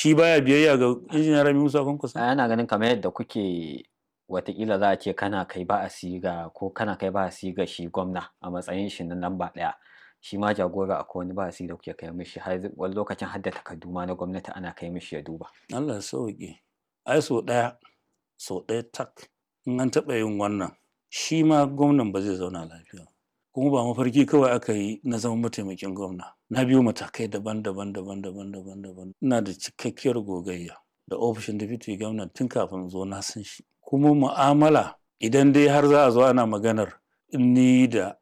Shi baya biyayya ga Injiniya Rabi Musa Kwankwaso. Ana ganin kamar yadda kuke, watakila za a ce kana kai ba a siga ko kana kai ba a siga shi gwamna a matsayin shi na lamba ɗaya, shi ma jagora akwai wani ba da kuke kai mishi, har wani lokacin har da takardu ma na gwamnati ana kai mishi ya duba. Allah ya sauke. Ai sau ɗaya, sau ɗaya tak in an taɓa yin wannan, shi ma gwamnan ba zai zauna lafiya. Kuma ba mafarki kawai aka yi na zama mataimakin gwamna. Na biyo matakai daban-daban daban-daban daban-daban. Ina da cikakkiyar gogayya da ofishin deputy gwamna tun kafin zo, na san shi. Kuma mu'amala, idan dai har za a zo ana maganar ni da